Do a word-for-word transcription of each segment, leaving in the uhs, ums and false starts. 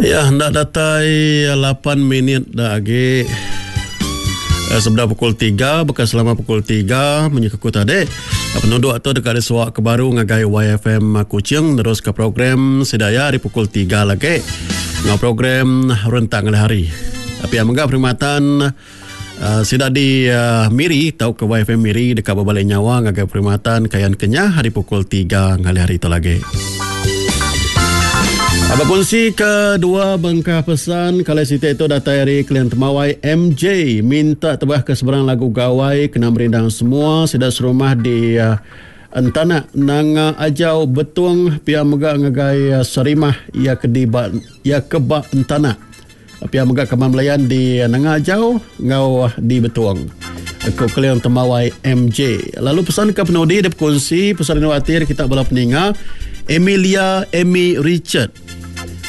Ya, enda datai lapan minit da agi sebedau pukul tiga, baka selama pukul tiga munyi ke ku tadi penuduk tu deka disuak ke baru ngagai Y F M Kuching neruska program sida iya ari pukul tiga lagi enggau program rentang ngalih hari. Pia mega perkhidmatan uh, sida di uh, Miri tauka Y F M Miri deka berbalik nyawa ngagai perkhidmatan Kayan Kenyah hari pukul tiga ngalih hari tu lagi. Abang kongsi ke dua bengkah pesan kalau siti itu datai hari klien temawai M J minta tebah ke seberang lagu gawai kena merindang semua sida serumah di uh, Entanak Nanga Ajau Betung pia mega ngagai uh, Sarimah ia ke di ba, ia ke ba Entanak pia mega kaman Melayan di Nanga Ajau ngau di Betung. Aku klien temawai M J. Lalu pesan ke penudi dia berkongsi pesan inuatir kita bala peninga Emilia Amy Richard.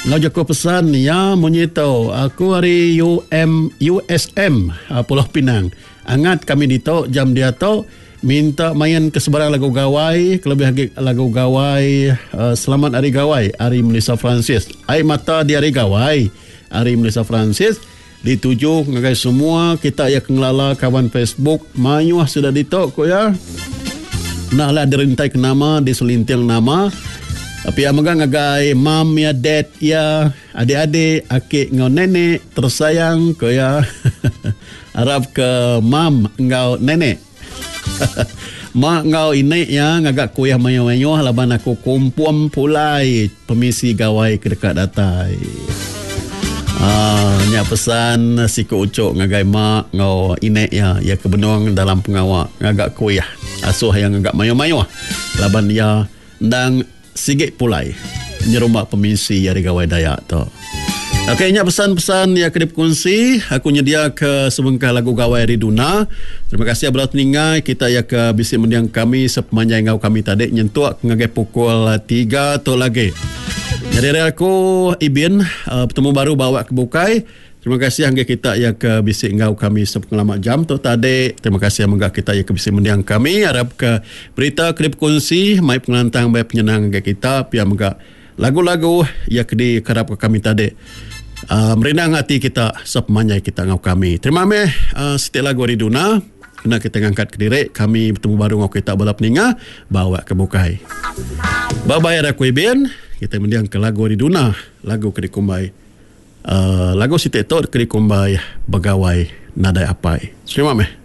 Ngau jaku pesan ya munyi tu aku hari U M U S M Pulau Pinang. Angat kami ditu jam dia tu minta main ke sebarang lagu gawai, kelebih lagi lagu gawai uh, Selamat Hari Gawai hari Melissa Francis. Air mata di hari gawai hari Melissa Francis dituju ngagai semua kita yang ngelala kawan Facebook mayuh sudah ditu ko ya. Nak lah dirintai ke nama diselinting nama. Tapi yang megang ngagai mam ya dad ya adik-adik akik ngau nenek tersayang ko ya. Harap ke mam ngau nenek. Mak ngau inek ya ngagak kuih mayo-mayo laban aku kumpum pulai permisi gawai ke dekat datai. Ah, nya pesan siku ucuk ngagai mak ngau inek ya ya ke benung dalam pengawak ngagak kuih asuh yang ngagak mayo-mayo laban ya ndang sigit pulai nyerumak permisi hari gawai Dayak tu. Okey, nya pesan-pesan yang kena berkongsi. Aku nyedia ke sebengkah lagu gawai hari Duna. Terima kasih abang teningai kita ya ke bisi mendiang kami sepanjang ngau kami tadi nyentuk ngagai pukul tiga tu lagi. Jadi hari aku Ibin uh, bertemu baru bawa ke bukai. Terima kasih hingga kita yang ke bisi ngau kami sepengalaman jam tu tadi. Terima kasih hingga kita yang ke bisi mendiang kami. Harap ke berita klip kongsi mai pengelantang mai penyenang hingga kita pia mega lagu-lagu yang ke dikerap ke kami tadi. Uh, merindang hati kita sepanjang kita ngau kami. Terima kasih uh, setiap lagu hari Duna. Kena kita ngangkat ke diri kami bertemu baru ngau kita bala peninga bawa ke bukai. Bye bye aku Ibin. Kita mendiang ke lagu hari Duna, lagu ke dikumbai. Uh, lagu Siti Tok ke dikumbai Begawai Nadai Apai. Terima kasih.